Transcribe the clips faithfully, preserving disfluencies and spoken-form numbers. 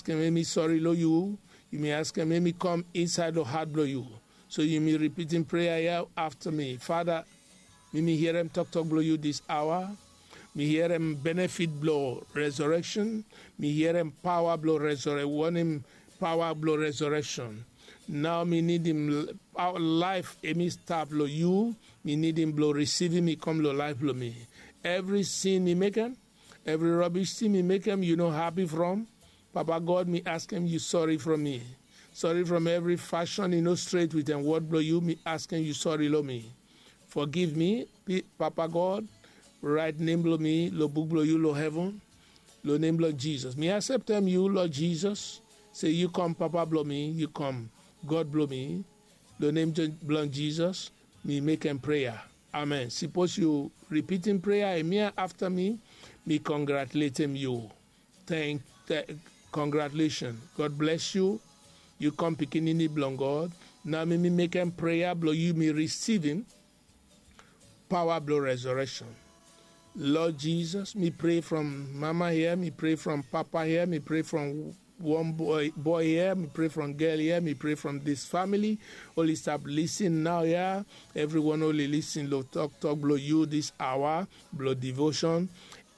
askem emi sori lo yu. Yumi askem emi kom insaed lo hat blo yu. So yumi ripitim prea ya afta mi. Fada, mi mi hierem toktok blo yu dis aoa. Mi hierem benefit blo resurekshon. Mi hierem paoa blo resurek wanem paoa blo resurekshon. Nao mi nidim laef emi stap lo yu. Mi nidim blo risivim i kom lo laef blo mi. Evri sin mi mekem, evri robish sin mi mekem yu no hapi from, Papa God, mi askem yu sori from mi. Sori from evri fashon i no stret wit en wod blo yu. Mi askem yu sori lo mi. Fogiv mi, Papa God. Raet nem blo mi lo buk blo yu lo heven. Lo nem blo Jisas mi aseptem yu lo Jisas, se yu kom Papa blo mi, yu kom God blo mi. Lo nem blo Jisas mi mekem prea. Amen. Sipos yu ripitim prea ya afta mi, mi kongratuletem yu. Tenk kongratulesion. God bles yu. Yu kom pikinini blong God. Nao mi mi mekem prea blong yu mi risivim paoa blong resurekshon. Lod Jisas, mi pre from mama hia, mi pre from papa hia, mi pre from wan boe hia, mi pre from gel hia, mi pre from dis famili. Oli stap lisin naoia. Evriwan oli lisin long toktok blong yu dis aoa blong divoshon.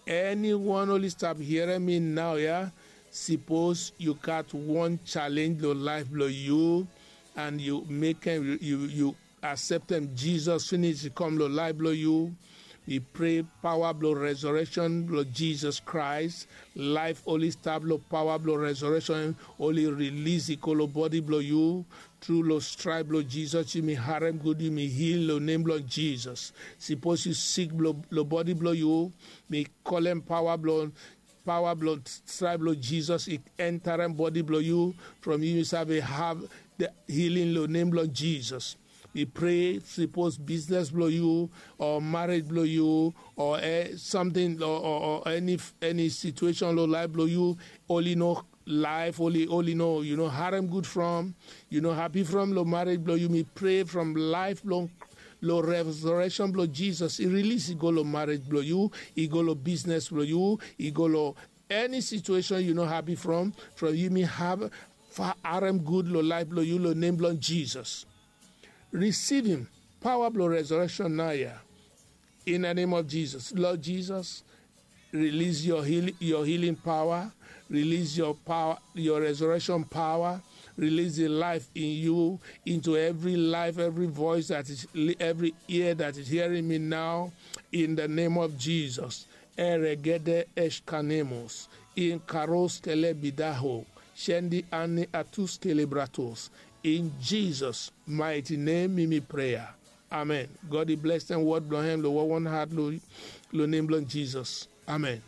Eniwan oli stap hierem mi naoia, sipos yu gat wan jalenj long laef blong yu, an yu mekem yu aseptem Jisas finis i kam long laef blong yu. Mi pre paoa blong resurekshon blong Jisas Kraes. Laef oli stap long paoa blong resurekshon oli rilis i go long bodi blong yu. Tru long straep blong Jisas yumi harem gud, yumi hil long nem blong Jisas. Sipos yu sik long bodi blong yu, mi kolem paoa blong paoa blong straep blong Jisas i entarem bodi blong yu. From yu yu save have hilin long nem blong Jisas. Mi pre sipos bisnes blong yu o marej blong yu o samting o eni situeshon long laef blong yu, oli no laef oli oli no yu no harem gud from, yu no hapi from long marej blong yu, mi pre from laef blong long resurekshon blong Jisas i rilis i go long marej blong yu, i go long bisnes blong yu, i go long eni situeshon yu no hapi from. From yu mi harem gud long laef blong yu long nem blong Jisas. Risivim paoa blong resurekshon naoia. In the name of Jesus, Lord Jesus, release your healing, your healing power, release your power, your resurrection power, release the life in you into every life, every voice that is, every ear that is hearing me now, in the name of Jesus. Eregede eshkanemos, in karos telebidaho, shendi ani atus telebratos. In Jesus' mighty name, mi mi prayer. Amen. God i bless dem word blong hem lo wawan heart lo lo name blong Jesus. Amen.